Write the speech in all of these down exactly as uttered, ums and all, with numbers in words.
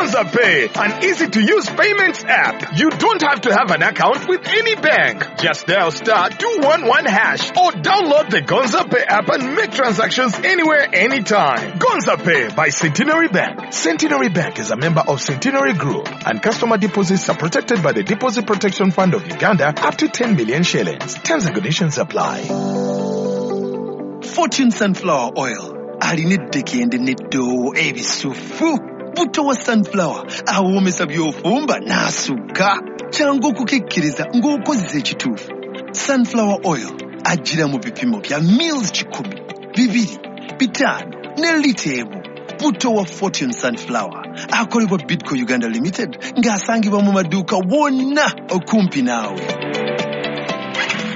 Gonza Pay, an easy-to-use payments app. You don't have to have an account with any bank. Just dial star two one one hash or download the Gonza Pay app and make transactions anywhere, anytime. Gonza Pay by Centenary Bank. Centenary Bank is a member of Centenary Group, and customer deposits are protected by the Deposit Protection Fund of Uganda up to ten million shillings. Terms and conditions apply. Fortune Sunflower Oil alina eddekende n'eddoowo ebisufu. Buto wa sunflower awoomesa by'ofumba n'asukka. Kyangu okukikkiriza ng'okozesa ekituufu. Sunflower Oil ajjira mu bipimo bya mils kikumi, bibiri, bitaano ne lita emu. Buto wa Fortune Sunflower akolebwa Bidco Uganda Limited ng'asangibwa mu maduuka wonna okumpi naawe.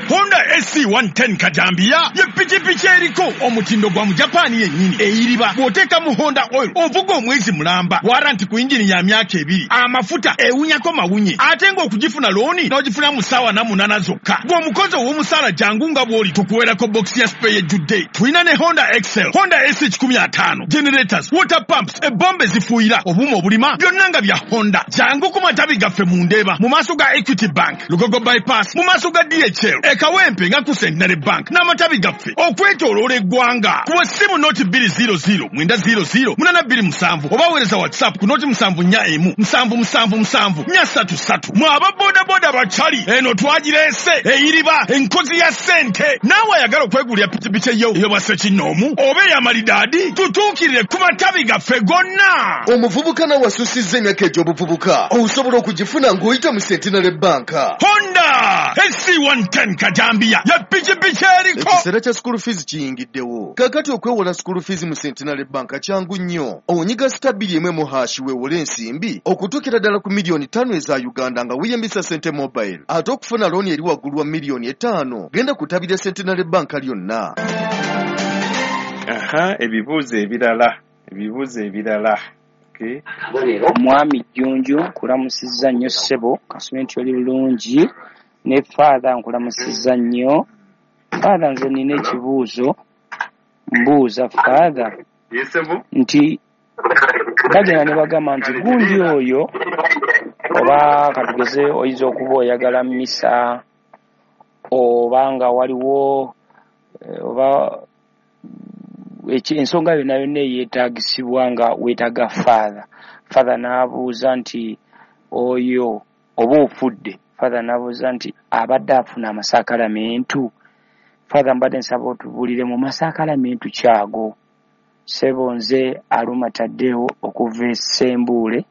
Honda S C one ten Kajambia ye pikipiki eriko omutindo gwa mu Japan yennyini eyiriba bw'oteeka mu Honda oil ovuga omwezi mulamba waranti ku injini ya myaka ebiri amafuta ewunyako mawunye ate ng'okugifuna looni n'ogifuna mu ssaawa na munaana zokka. Gw'omukozi ow'omusaala jangu nga bw'oli tukuweerako box ya spare ejjudde. Tulina ne Honda X L, Honda S C kikumi ataano, generators, water pumps, ebombe zifuuyira, obuuma obulima byonna nga bya Honda. Jangu ku matabi gaffe mu Ndeeba mu maaso ga Equity Bank, Lugogo Bypass, mu maaso ga D H L, Kawempe nga ku Centenary Bank n'amatabi gaffe okwetooloola eggwanga. Kuba essimu noti bbiri zero zero mwenda zero zero munaana bbiri musanvu oba weereza WhatsApp ku noti musanvu nnya emu musanvu musanvu musanvu nnya ssatu ssatu. Mwe aba bodaboda bakyali eno twagireese eyiriba enkozi ya ssente. Naawe ayagala okwegulira pikipiki eyo ey'obwa ssekinnoomu oba ey'amalidaadi tutuukirire ku matabi gaffe gonna. Omuvubuka nawe asusizza emyaka egy'obuvubuka osobola okugifuna ng'oyita mu Centenary Bank. Honda S C one ten Kajambia ya pikipiki eriko. Ekiseera kya school fees kiyingiddewo. Kaakati okwewola school fees mu Centenary Bank kyangu nnyo. Onyiga star bbiri emu emu hash weewole ensimbi okutuukira ddala ku miliyoni ttaano eza Uganda nga weeyambisa Sente Mobile. Ate okufuna looni eri waggulu wa miliyoni etaano genda kutabira Centenary Bank lyonna. Aha, ebibuuzo ebirala, ebibuuzo ebirala. Okay. Omwami Jjunju nkulamusizza nnyo ssebo, kasome nti oli bulungi. Ne Father nkulamusizza nnyo. Father nze nina ekibuuzo, mbuuza Father nti bagenda ne bagamba nti gundi oyo oba katugeze oyinza okuba oyagala mmisa oba nga waliwo oba ensonga yonna yonna eyeetaagisibwa nga weetaaga Father. Father n'abuuza nti oyo oba ofudde. Father n'abuuza nti abadde afuna amasakalamentu. Father mbadde nsaba otubuulire mu masakalamentu kyago. Ssebo nze Aluma Taddewo okuva e Ssembuule,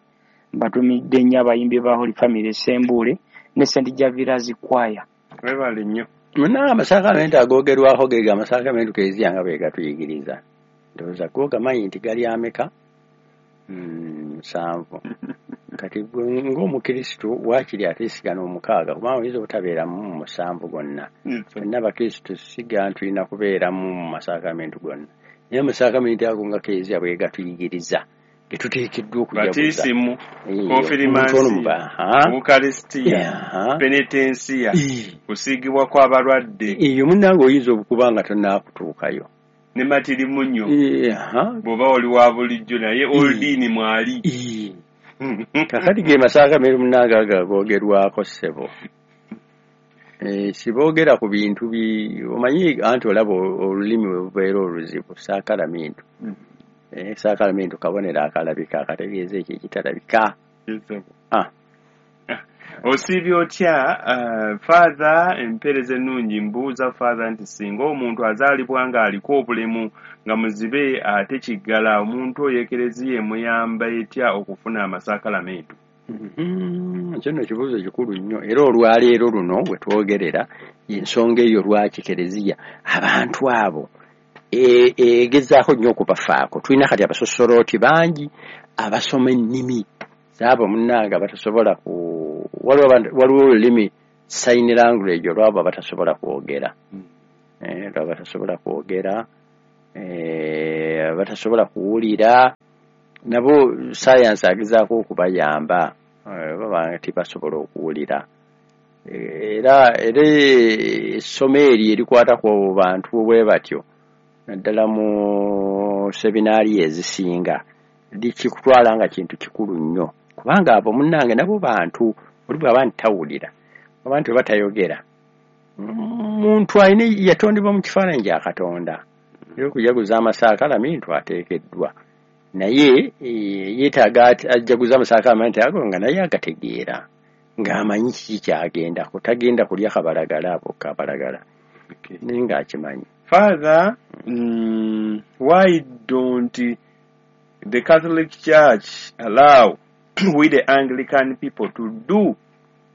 mbatumidde nnyo abayimbi ba Holy Family e Ssembuule ne Saint Javira's Choir. Webale nnyo. Munna amasakalamentu agoogerwako ge amasakalamentu Kereziya nga bwe gatuyigiriza. Ndowooza go gamanyi nti gali ameka? Musanvu. Kati ng'omukristu waakiri ate sigana omukaaga kubanga oyinza obutabeeramu mu musanvu gonna. Ffenna abakristu siga tulina kubeeramu mu masakalamentu gonna. Naye amasakalamentu ago nga Kereziya bwe gatuyigiriza ge tuteekeddwa okujaguza. Batisimu, konfirimansiyo, Ukarisitiya, penetensiya, kusiigibwa kw'abalwadde. Eyo munnange oyinza okuba nga tonnaakutuukayo. Ne matirimunyo bw'oba oli wa bulijjo naye oldiini mwali. Kakati ge masakalamentu munnange ago agoogerwako ssebo. Siboogera ku bintu bi omanyi anti olaba olulimi bwe bubeera oluzibu saakalamentu. Saakalamentu kabonero akalabika akategeeza ekyo ekitalabika. Ah. Osiibye otya Father? Empeereza ennungi. Mbuuza Father nti singa omuntu azaalibwa ng'aliko obulemu nga muzibe ate kiggala, omuntu oyo Ekereziya emuyamba etya okufuna amasakalamentu? Ekyo nno kibuuzo kikulu nnyo era olwaleero luno we twogerera ensonga eyo lwaki Kereziya abantu abo egezaako nnyo okubafaako. Tulina kati abasosolooti bangi abasoma ennimi zaabo munnange batasobola ku waliwo olulimi sign language olwabo abatasobola kwogera, olwabo batasobola kwogera, batasobola kuwulira, nabo sayansi agezaako okubayamba baba tibasobola okuwulira. Era era essomo eryo erikwata ku bantu bwe batyo naddala mu seminaari ezisinga Likikutwala nga kintu kikulu nnyo, kubanga abo munnange nabo bantu, oli bw'aba nti tawulira, abantu bwe batayogera, muntu alina yatondebwa mu kifaananyi kya Katonda, era okujaguza amasaakalamintu ateekeddwa, naye eh, yeetaaga ajaguza amasaakalamintu ago nga naye agategeera, ng'amanyi kiki ky'agendako, tagenda kulya kabalagala abo kabalagala, Okay. naye ng'akimanyi. Father, mm, why don't the Catholic Church allow we the Anglican people to do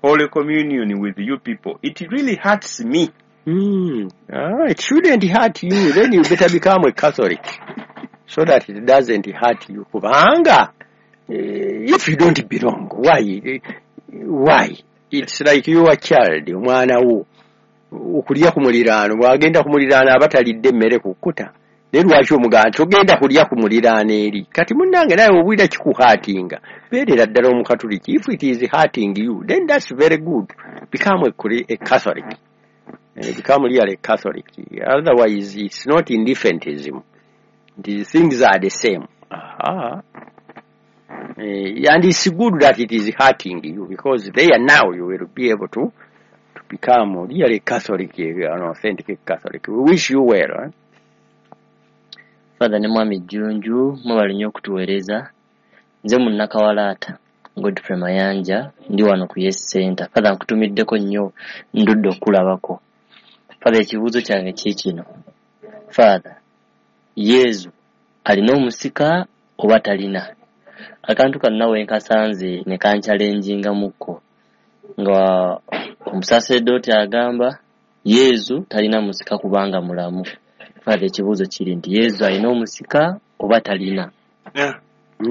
Holy Communion with you people? It really hurts me. Mm. Ah, it shouldn't hurt you. Then you better become a Catholic so that it doesn't hurt you. Kubanga, eh, if you don't belong, why? Eh, Why? It's like you are child, omwana wo. Okulya ku muliraano, bw'agenda ku muliraano aba talidde emmere kukkuta. Naye lwaki omugamba togenda kulya ku muliraano eri? Kati munnange nawe obwira kikuhurtinga. Beerera ddala Omukatuliki. If it is hurting you, then that's very good. Become a, a Catholic. Uh, become really Catholic. Otherwise, it's not indifferentism. The things are the same. Aha. Uh, and it's good that it is hurting you, because there now you will be able to, to become really Catholic, an authentic Catholic. We wish you well. Eh? Father ne Mwami Jjunju, mwebale nnyo okutuweereza. Nze Munnakawalaata Godfrey Mayanja, ndi wano ku Yes Center. Father, nkutumiddeko nnyo, ndudde okulabako. Father, ekibuuzo kyange kiikino. Father, Yezu alina omusika oba talina? Akantu kano we nkasanze ne kanchallengingamukko, nga omusaseredooti agamba Yezu talina musika kubanga mulamu. Father, ekibuuzo kiri nti Yezu alina omusika oba talina? Yeah.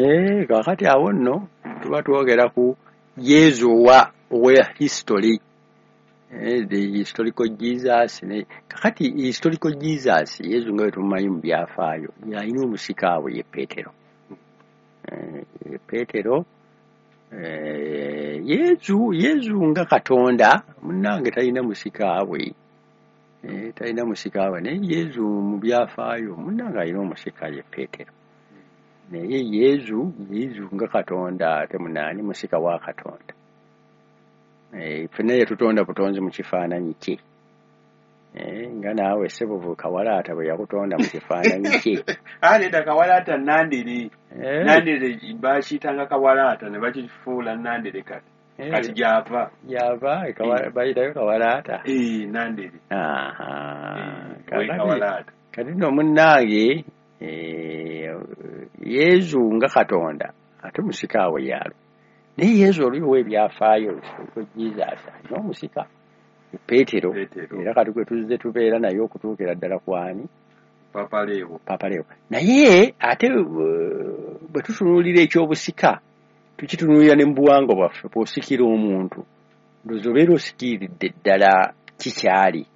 Eh, kakati awo nno tuba twogera ku Yezu owa owa history. Eh, the historical Jesus ne kakati historical Jesus Yezu nga bwe tumumanyi mu byafaayo alina omusika awo ye Petero. Eh, ye Petero eh, Yezu Yezu nga Katonda munnange talina musika we. Eh, talina musika we, naye Yezu mu byafaayo munnange alina omusika ye Petero. Naye Yezu Yezu nga Katonda ate munaani musika wa Katonda. Eh, ffenna yatutonda butonzi mu kifaananyi kye. Eh, nga naawe ssebo Kawalaata bwe yakutonda mu kifaananyi kye. Ah, nedda Kawalaata Nandere. Eh, Nandere bakiyitanga Kawalaata ne bakifuula Nandere kati. eh, Kati gy'ava. gy'ava e Kawa- bayitayo Kawalaata. Eh, Nandere. Aha. Eh, we Kakati Kawalaata. kati nno munnange eh, Yezu nga Katonda ate musika awo yaalo. Naye Yezu oli ow'ebyafaayo historical Jesus alina omusika Petero, Petero. era kati gwe tuzze tubeera naye okutuukira ddala kwani Papa Leo. Papa Leo. Naye ate eh, bwe tutunuulira ekyobusika tukitunuulira ne mu buwangwa bwaffe, bw'osikira omuntu ndowooza obeera osikiridde ddala kikyali.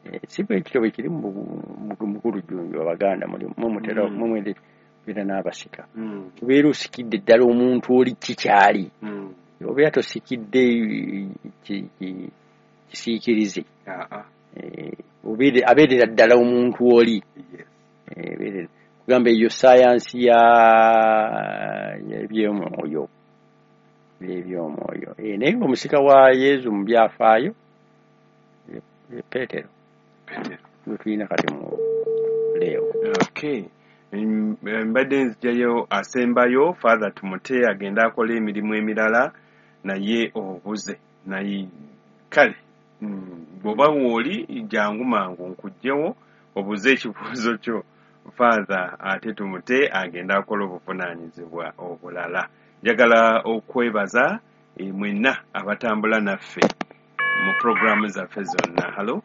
Eh, si bwe kityo bwe kiri mu mu- mukulu Jjunju, Abaganda muli mwe mutera Mm. mwe mubeera n'abasika, Mm. obeera osikidde ddala omuntu oli kikyali, Mm. obeera tosikidde eh, ki- ki- kisiikirize. Ah, ah. Eh, obeere- abeerera ddala omuntu oli. Yes. Eh, abeerera kugamba eyo sayansi ya y'ebyomwoyo ebyomwoyo. Eh, naye ng'omusika wa Yezu mu byafaayo ye ye Petero Petero. gwe tulina kati mu Leo. Okay. Mm, mbadde nzijayo asembayo Father tumute agende akole emirimu emirala naye obuze naye kale mm, bw'oba wooli jangu mangu nkugyewo obuze ekibuuzo kyo Father ate tumute agende akole obuvunaanyizibwa obulala. Njagala okwebaza eh, mwenna abatambula naffe mu puroguraamu zaffe zonna. Halo?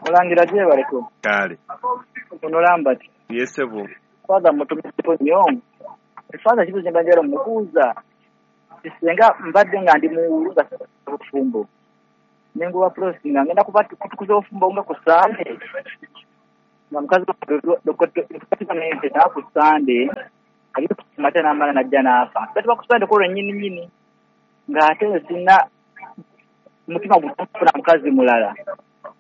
Mulangira gyebaleko. Kale. Ono Lambert. Yes, ssebo. Father mutumiddeko nnyo. Father ekibuuzo kye mbadde njagala omubuuza, singa mbadde nga ndi mu nga bufumbo nenguba prosi nga ngenda kuba kutukuza obufumbo nga ku Sande nga mukazi wange ku Sande ali mata n'amala n'ajja n'afa batuba ku Sande kwolwo nnyini nnyini ng'ate sina mutima gufuna mukazi mulala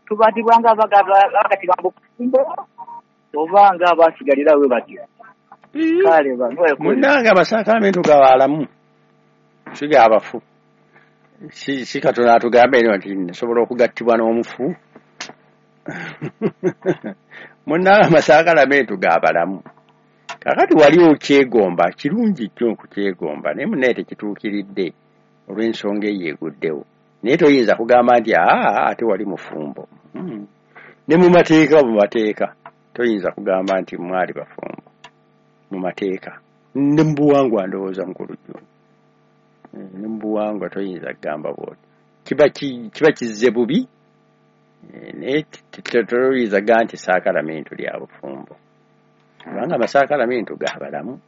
tubatibwa nga abagatibwa mu bufumbo oba nga abasigalira we batyo. Kale ba Munnange amasakalamentu gabaalamu, si g'abafu. Si si Katonda atugambe eno nti nsobola okugattibwa n'omufu. Munnange amasakalamentu g'abalamu. Kakati wali okyegomba, kirungi nnyo okukyegomba, naye munnaye tekituukiridde olw'ensonga eyo eguddewo. Naye toyinza kugamba nti aa ate wali mufumbo. Mm. Ne mu mateeka, mu mateeka toyinza kugamba nti mwali bafumbo mu mateeka. Ne mu buwangwa ndowooza mukulu Jjumba. Ne mu buwangwa toyinza kugamba bw'otyo. Kiba ki, kiba kizze bubi, naye toyinza kugamba nti saakalamentu lya bufumbo. Kubanga amasakalamentu g'abalamu.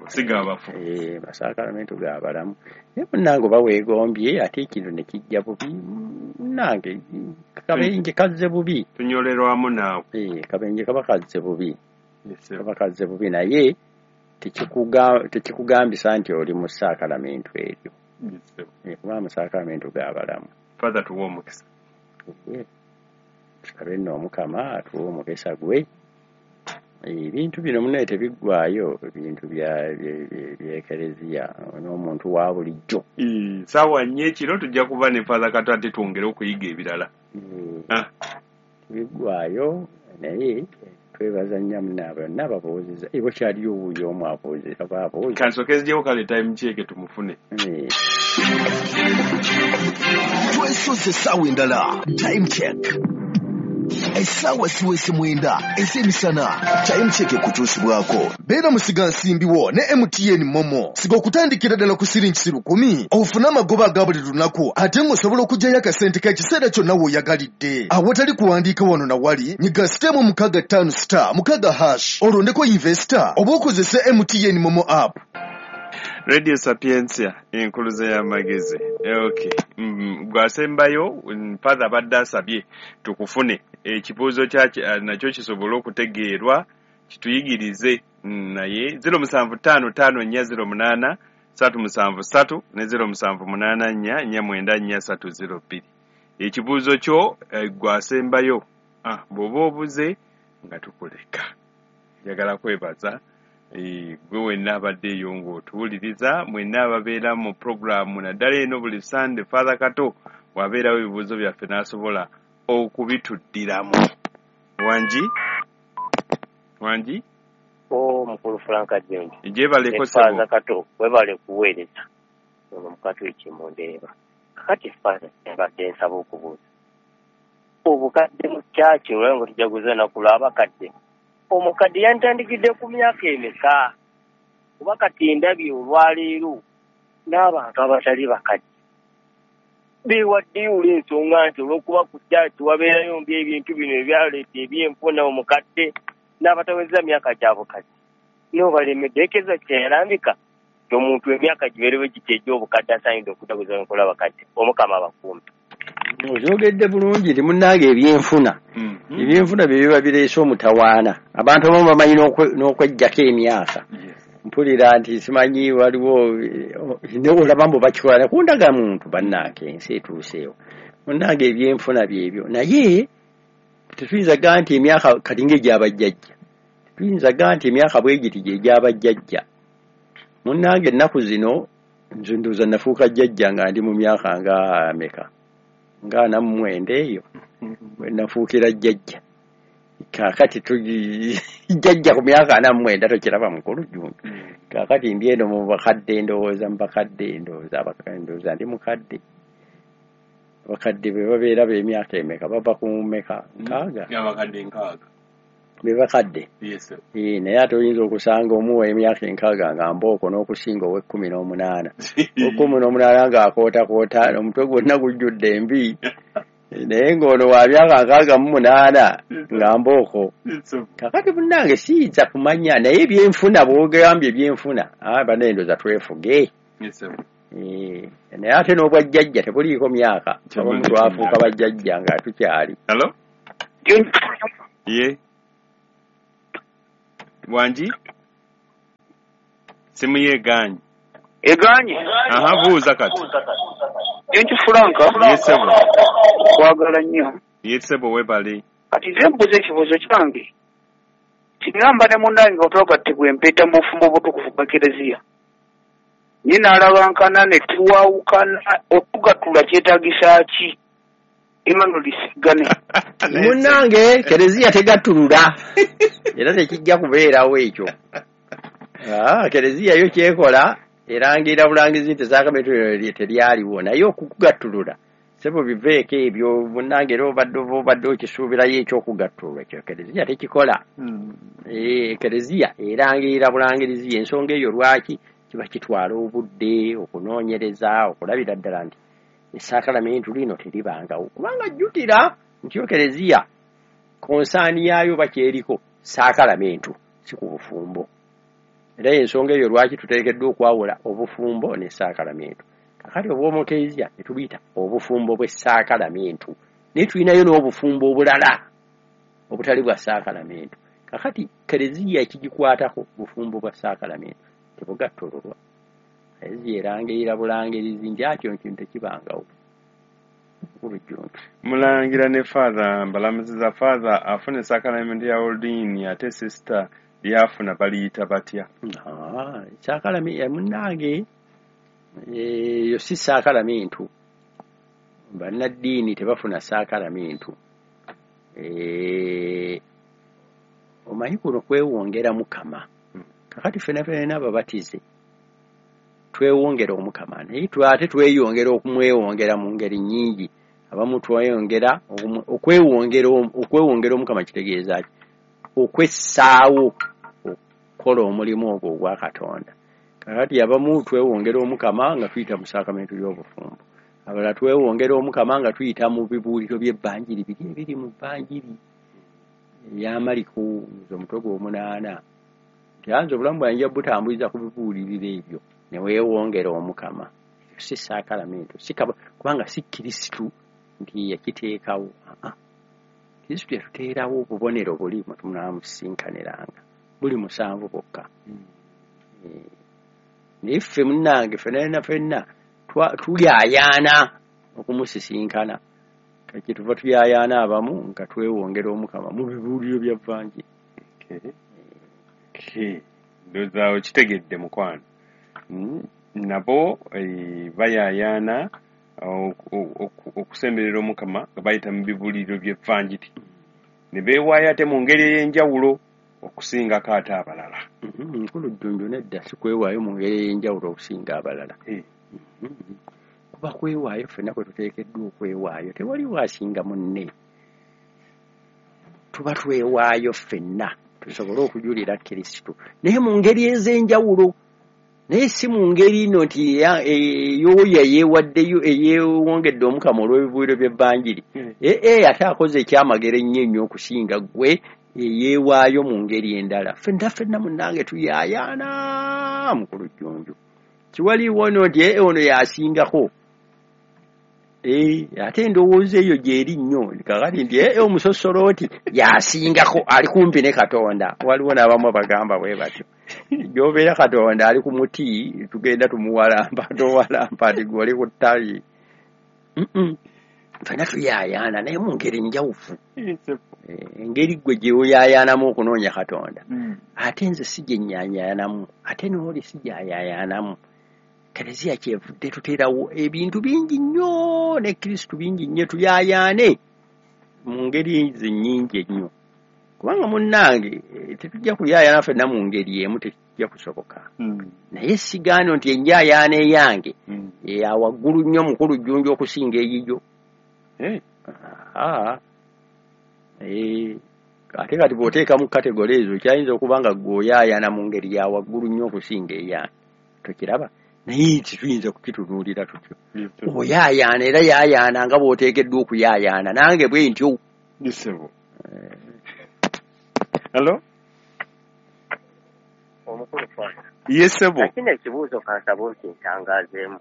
Si g'abafu. Eh, amasakalamentu g'abalamu. Naye munnange oba weegombye ate ekintu ne kijja bubi, munnange kabenje kazze bubi. Tunyolerwamu naawe. Eh, kabenje kaba kazze bubi. Kaba kazze bubi naye tekikuga tekikugambisa nti oli mu saakalamentu eryo. Eh, kuba amasakalamentu g'abalamu. Father, tuwe omukisa. Tusabe nno Omukama atuwe omukisa gwe. Ebintu bino munnaye tebiggwaayo, ebintu bya by'ekereziya n'omuntu wa bulijjo. Ssaawa nnya ekiro tujja kuba ne Father Kato ate twongere okuyiga ebirala. Tebiggwaayo naye twebaza nnyo munna bonna ababuuzizza. Ebo kyaliyo wuuyo omu abuuzizza baabuuza. Kansooke nziggyewo kale time check tumufune. Twesoze essaawa endala, time check. Essaawa siwese mwenda ez'emisana, time check ekutuusibwako. Beera musigansimbi wo ne M T N Momo. Siga okutandikira ddala ku siringi lukumi, ofune amagoba aga buli lunaku, ate ng'osobola okuggyayo akasente k'ekiseera kyonna w'oyagalidde. Awatali kuwandiika wano na wali, nyiga sitemu mukaaga ttaano star mukaaga hash, olondeko investor oba okozese M T N Momo app. Radio Sapientia, enkuluze y'amagezi. Okay. Mm, gwasembayo Father abadde asabye tukufune ekibuuzo kya nakyo kisobole okutegeerwa kituyigirize, naye zero musanvu ttaano ttaano nnya zero munaana ssatu musanvu ssatu ne zero musanvu munaana nnya nnya mwenda nnya ssatu zero bbiri. Ekibuuzo kyo gwasembayo, ah, bw'oba obuze nga tukuleka. Njagala kwebaza gwe wenna abadde eyo ng'otuwuliriza, mwenna ababeera mu puroguraamu naddala eno buli Sande Father Kato wabeerawo ebibuuzo byaffe n'asobola okubituddiramu. Wangi? Wangi? O mukulu Frank Jjunju. Gyebaleko ssebo. Father Kato webale kuweereza. Ono mukatu ekimundeeba. Kakati Father mbadde nsaba okubuuza. Obukadde mu kyaki olwo nga tujaguza ennaku lw'abakadde. Omukadde yantandikidde ku myaka emeka? Kuba kati ndabye olwaleero n'abantu abatali bakadde beewaddeyo olw'ensonga nti olw'okuba ku kyaki wabeerayo mbi ebintu bino ebyaleeta ebyenfuna omukadde n'abataweza myaka gya bukadde n'obalemedde ekeza kyeyalambika nti omuntu emyaka gibeerewo giti egy'obukadde asaanidde okujaguza enkola abakadde. Omukama abakuume. Okyogedde bulungi nti munnange ebyenfuna ebyenfuna bye biba bireese omutawaana. Abantu abamu bamanyi n'okweggyako emyaka. Mpulira nti simanyi waliwo olaba mbu bakikola ku ndagamuntu, bannange ensi etuuseewo. Munnange ebyenfuna byebyo, naye tetuyinza gamba nti emyaka kati ng'egyabajjajja, tetuyinza gamba nti emyaka bwe giti gy'egyabajjajja. Munnange ennaku zino nze ndowooza nafuuka jjajja nga ndi mu myaka nga ameka, nga ana mu mwenda eyo bwe nafuukira jjajja. Kaakati jjajja ku myaka ana mu mwenda tokiraba mukulu Jjumba. Kaakati ndi eno mu bakadde ndowooza mu bakadde ndowooza ndowooza ndi mukadde. Abakadde be babeera b'emyaka emeka, bava ku meka nkaaga. Abakadde nkaaga. Be bakadde. Yes. Eh, naye ate oyinza okusanga omuwa emyaka enkaaga nga mbooko n'okusinga ow'ekkumi n'omunaana. Ow'ekkumi n'omunaana ng'akootakoota omutwe gwonna gujjudde envi. Naye ng'ono wa myaka nkaaga mu munaana nga mbooko. Kaakati munnange siyinza kumanya, naye ebyenfuna bw'ogambye ebyenfuna, ah, bannaye ndowooza twefuge. Eh, naye ate n'obwajjajja tebuliiko myaka. Abamu twafuuka bajjajja nga tukyali. Hello? Ye. Wangi? Simu ye egaanye. Egaanye? Aha, buuza kati. Jjunju Frank. Ye ssebo. Kwagala nnyo. Ye ssebo webale. Kati nze mbuuza ekibuuzo kyange. Singa mba ne munnange nga twagattibwa empeta mu bufumbo obutukuvu bwa Kereziya, ye n'alabankana ne tuwawukana, okugattula kyetaagisa ki? Emmanuel Sigane. Munnange Kereziya tegattulula era tekijja kubeerawo ekyo. Ah, Kereziya yo kyekola erangira bulangizi nti saakamenti teryaliwo, naye okukugattulula sebo biveeko ebyo munnange, era obadde oba obadde okisuubirayo ekyokugattulula ekyo Kereziya tekikola. Eh, Kereziya erangirira bulangirizi. Ensonga eyo lwaki kiba kitwala obudde okunoonyereza okulabira ddala nti esaakalamentu lino teribangawo, kubanga jjukira nti yo Kereziya konsaani yaayo bakyeriko saakalamentu si ku bufumbo. Era ensonga eyo lwaki tuteekeddwa okwawula obufumbo ne saakalamentu. Kakati obw'omukereziya ne tubuyita obufumbo bw'essaakalamentu, naye tulinayo n'obufumbo obulala obutali bwa saakalamentu. Kakati Kereziya ekigikwatako bufumbo bwa saakalamentu tebugattululwa. Kereziya erangirira bulangirizi nti akyo nkintu tekibangawo. Mulangira ne Father mbalamuziza. Father afuna esaakalamentu ya Oldini ate sister lyafuna baliyita batya? Ah, saakalamentu munnange eyo si saakalamentu. Bannaddiini tebafuna saakalamentu. Eh, omanyi kuno kwewongera Mukama. Kakati ffenna ffenna ababatize twewongera Omukama, naye ate tweyongera okumwewongera mu ngeri nnyingi. Abamu tweyongera okwewongera okwewongera Omukama kitegeeza ki? Okwessaawo okukola omulimu ogwo ogwa Katonda. Kakati abamu twewongera Omukama nga tuyita mu saakamenti y'obufumbo, abalala twewongera Omukama nga tuyita mu bibuuliro by'ebbanjiri biri ebiri mu bbanjiri eya Maliko omutwe gw'omunaana. Nti anze obulamu bwange nja butambuliza ku bibuuliriro ebyo ne weewongera Omukama. Si saakalamentu, si kubanga si Kristu nti yakiteekawo. Aa, Kristu yatuteerawo obubonero buli mwe tunaamusisinkaniranga, buli musanvu bwokka. Naye ffe munnange ffenna ffenna tuyaayaana okumusisinkana. Kati tuva tuyaayaana abamu nga twewongera Omukama mu bibuuliro bya Vanjiri. Ndowooza okitegedde mukwano. Nabo bayaayaana okusemberera Omukama nga bayita mu bibuuliro by'Evanjiri ne beewaayo ate mu ngeri ey'enjawulo okusingako ate abalala. Nkulu Jjunju, nedda si kwewaayo mu ngeri ey'enjawulo okusinga abalala. Kuba kwewaayo ffenna kwe tuteekeddwa okwewaayo, tewaliwo asinga munne. Tuba twewaayo ffenna tusobole okujulira Kristo, naye mu ngeri ez'enjawulo, naye si mu ngeri ino nti ey'oyo eyeewaddeyo eyeewongedde Omukama olw'ebibuuliro by'Ebbanjiri. Ee, ate akoze ekyamagero ennyo ennyo okusinga ggwe eyeewaayo mu ngeri endala. Ffenna ffenna munnange tuyaayaana mukulu Jjunju. Kiwaliwo ono nti ee ono y'asingako. Ee, ate endowooza eyo gy'eri nnyo. Kakati nti ee omusosolooti y'asingako, ali kumpi ne Katonda. Waliwo n'abamu abagamba bwe batyo. Gy'obeera Katonda ali ku muti, tugenda tumuwalampa, towalampa nti ggwe oli ku ttabi. Ffenna tuyaayaana naye mu ngeri njawufu. Engeri ggwe gye oyaayaanamu okunoonya Katonda, ate nze si gye nnyayaanamu, ate n'oli si gy'ayaayaanamu. Kereziya kyevudde tuteerawo ebintu bingi nnyo ne Kristu bingi nnyo tuyaayaane mu ngeri ezo nnyingi ennyo. Kubanga munnange tetujja kuyaayaana ffenna mu ngeri emu, tekijja kusoboka. Naye sigaano nti enjaayaana eyange eya waggulu nnyo mukulu Jjunju okusinga eyiyo. Ate kati bw'oteekamu kategole ezo kyayinza okuba nga ggwe oyaayaana mu ngeri ya waggulu nnyo okusinga eyange. Tokiraba? Naye tetuyinza kukitunuulira tutyo. Oyaayaana era yaayaana nga bw'oteekeddwa okuyaayaana, nange bwe ntyo. Hello? Omukulu Father. Yes, sebo. Kino ekibuuzo kansaba okintangaazeemu.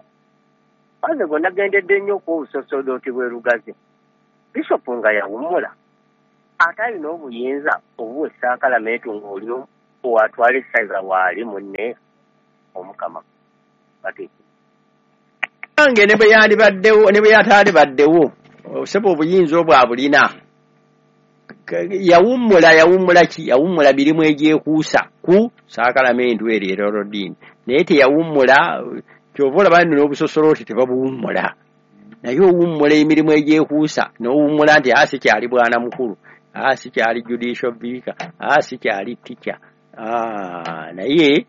Father gwe nagendedde nnyo okuwa obusosodooti bw'e Lugazi. Bishopu nga yawummula ate alina obuyinza obuwa essaakalamentu ng'oli owatwala essaza waali munne Omukama. Nange ne bwe yandibaddewo ne bwe yatandibaddewo, sebo obuyinza obwo abulina. Yawummula yawummula ki? Yawummula mirimu egyekuusa ku saakalamentu eryo erolodiini, naye teyawummula. Kyova olaba nno n'obusosolooti tebabuwummula, naye owummula emirimu egyekuusa n'owummula nti a sikyali bwana mukulu, a sikyali judicial vicar, a sikyali teacher, naye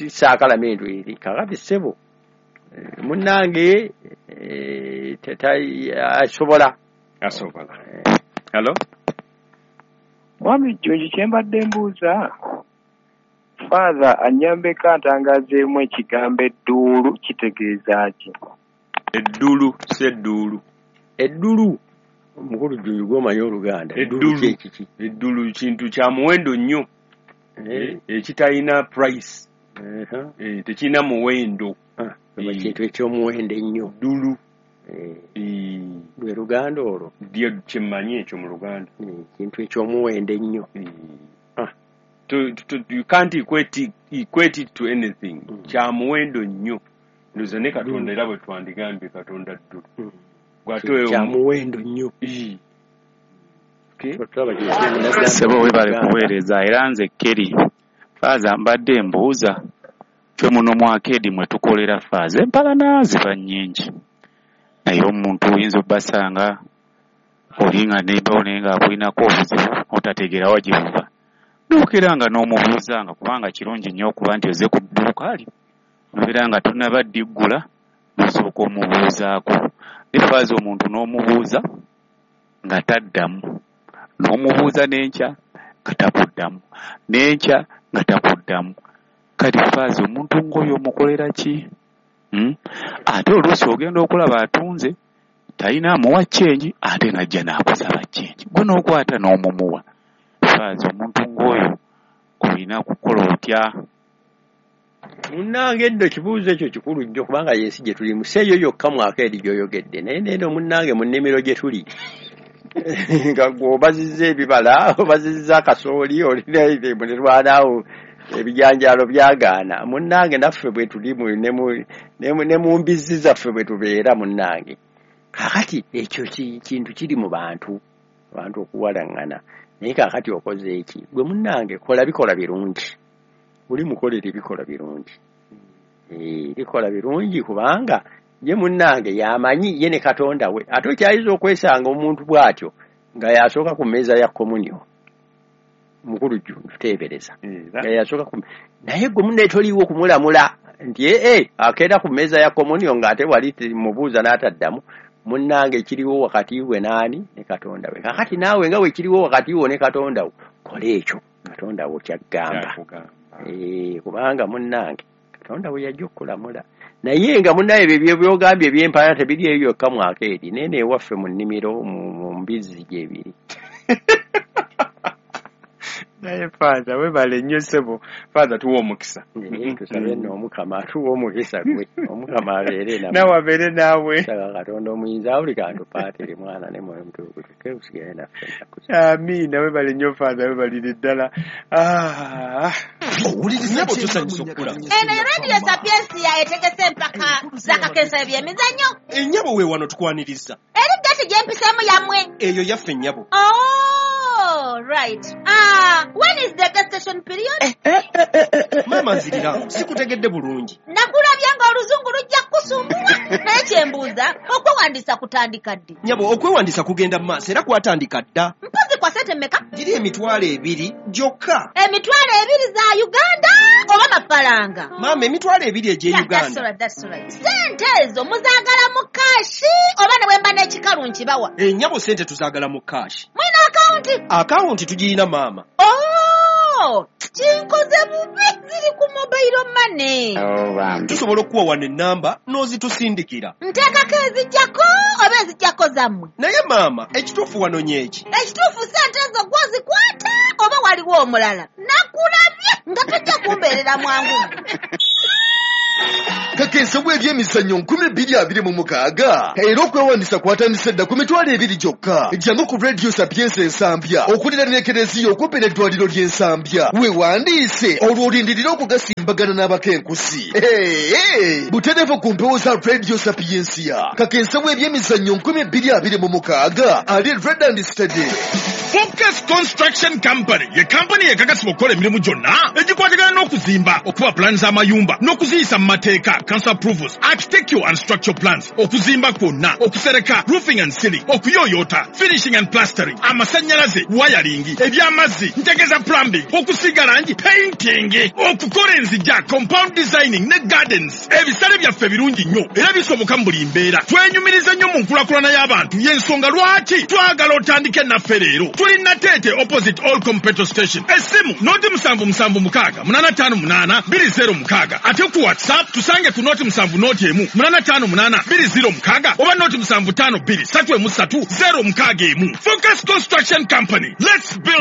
saakalamentu eri. Kakati ssebo munnange asobola asobola. Hello? Mwami Jjunju, kye mbadde mbuuza Father annyambeko antangazeemu ekigambo edduulu kitegeeza ki? Eddulu si edduulu. Eddulu omukulu Jjunju gw'omanyi Oluganda. Eddulu kiki? Eddulu kintu kya muwendo nnyo ekitalina price, tekirina muwendo, kintu eky'omuwendo ennyo. Ddulu lwe Luganda olwo ddyo kyemmanyi ekyo mu Luganda, kintu eky'omuwendo ennyo. You can't equate it, equate it to anything. Kya muwendo nnyo. Ndoza ne Katonda era bwe twandigambye Katonda ddulu. Kya muwendo nnyo. Ssebo webale kuweereza, era nze Kerry. Faaza mbadde mbuuza, ffe muno mu akeedi mwe tukolera faaza empalana ziba nnyingi, naye omuntu oyinza obbasanga oli nga neighbor naye ng'akulinako obuzibu otategeera wa gye buva, n'okeera nga n'omubuuzanga, kubanga kirungi nnyo okuba nti ozze ku dduuka lyo nobeera nga tonnaba ddiggula n'osooka omubuuzaako. Ne faaza omuntu n'omubuuza nga taddamu, n'omubuuza n'enkya nga takuddamu, n'enkya nga takuddamu. Kati faaza omuntu ng'oyo omukolera ki? Hmm? Ate oluusi ogenda okulaba atunze talina amuwa change, ate n'ajja n'akusaba change, gwe n'okwata n'omumuwa. Faaza omuntu ng'oyo olina kukola otya? Munnange nno ekibuuzo ekyo kikulu nnyo, kubanga y'ensi gye tulimu, si eyo yokka mu akeedi gy'oyogedde, naye neeno munnange mu nnimiro gye tuli nga gwe obazizza ebibala, obazizza akasooli, olina mulirwanaawo ebijanjaalo byagaana. Munnange naffe bwe tuli ne mu mbizzi zaffe bwe tubeera munnange. Kaakati ekyo kintu kiri mu bantu, abantu okuwalaŋŋana. Naye kaakati okoze eki? Gwe munnange kola bikola birungi, oli mukolere bikola birungi, bikola birungi, kubanga ye munnange yamanyi ye ne Katonda we. Ate okyayinza okwesanga omuntu bw'atyo nga yasooka ku mmeeza ya komunyo, mukulu Jjunju teebereza nga yasooka ku, naye gwe munne toliiwo kumulamula nti ee akeera ku mmeeza ya komunyo ng'ate wali mubuuza n'ataddamu. Munnange kiriwo wakati we naani ne Katonda we. Kaakati naawe nga we kiriwo wakati wo ne Katonda wo, kola ekyo Katonda wo ky'agamba, kubanga munnange Katonda we yajja okulamula. Naye nga munnaye ebyo by'ogambye eby'empalana tebiri eyo yokka mu akeedi, naye n'ewaffe mu nnimiro mu mbizzi gyebiri. Naye Faaza webale nnyo ssebo. Faaza tuwe omukisa. Tusabe nno Omukama atuwe omukisa gwe. Omukama abeere nammwe. Nawe abeere naawe. Saba Katonda omuyinza buli kantu Paatiri, Mwana ne Mwoyo Mutukuvu, tukke tusigale naffe ennaku zonna. Amiina. Webale nnyo Faaza, webalire ddala. Nnyabo tusanyusa okukulaba. Eno Radio Sapiensia etegese empaka z'akakensa eby'emizannyo. Ennyabo we wano tukwaniriza. Eri gati gye mpiseemu yammwe. Eyo yaffe nnyabo. Oh, right. Ah, when is the gestation period? Eh, eh, eh, eh, eh. Maama nzirira, sikutegedde bulungi. Nakulabye ng'oluzungu lujja kukusumbuwa. Naye kye mbuuza, okwewandiisa kutandika ddi? Nnyabo, okwewandiisa kugenda mu maaso era kwatandika dda. Mpozi kwa ssente mmeka? Giri emitwalo ebiri gyokka. Emitwalo ebiri za Uganda oba mafaranga? Maama, emitwalo ebiri egy'e Yeah, Uganda. that's all right, that's all right. Ssente ezo muzaagala mu kaashi oba ne bwe mba n'ekikalu nkibawa? Ennyabo ssente tuzaagala mu kaashi. Mulina akawunti? Akawunti tugirina maama. Oh, kinkoze bubi, ziri ku mobile money. Tusobola okukuwa wano ennamba n'ozitusindikira. Nteekako ezijjako oba ezijjako zammwe? Naye maama, ekituufu wanonye eki? Ekituufu ssente ezo gw'ozikwata oba waliwo omulala? Nakulabye nga tojja kumbeerera mwangu. Kakensa bw'ebyemizannyo nkumi bbiri abiri mu mukaaga era okwewandiisa kwatandise dda ku mitwalo ebiri gyokka. Jangu ku Radio Sapienza Ensambya okuliraana Ekereziya okumpi n'eddwaliro ly'Ensambya, weewandiise olwo olindirire okugasimbagana n'abakenkusi. Hey, butereevu ku mpewo za Radio Sapiensia. Kakensa bw'ebyemizannyo nkumi bbiri abiri mu mukaaga ali ready and steady. Focus Construction Company ye kampani ekakasibwa okukola emirimu gyonna egikwatagana n'okuzimba, okuba pulaani z'amayumba n'okuziyisa mu mateeka, council approvals, architectural and structural plans, okuzimba kwonna, okusereka, roofing and ceiling, okuyooyoota, finishing and plastering, amasannyalaze, wiring, eby'amazzi, ntegeeza plumbing, okusiiga langi, painting, okukola enzija, compound designing ne gardens. Ebisale byaffe birungi nnyo era bisoboka mu buli mbeera. Twenyumiriza nnyo mu nkulakulana y'abantu, y'ensonga lwaki twagala otandike naffe leero. Tuli Nateete opposite All Petrol Station. Essimu noti musanvu musanvu mukaaga munaana ttaano munaana bbiri zero mukaaga, ate ku WhatsApp tusange ku noti musanvu noti emu munaana ttaano munaana bbiri zero mukaaga oba noti musanvu ttaano bbiri ssatu emu ssatu zero mukaaga emu. Focus Construction Company, let's build.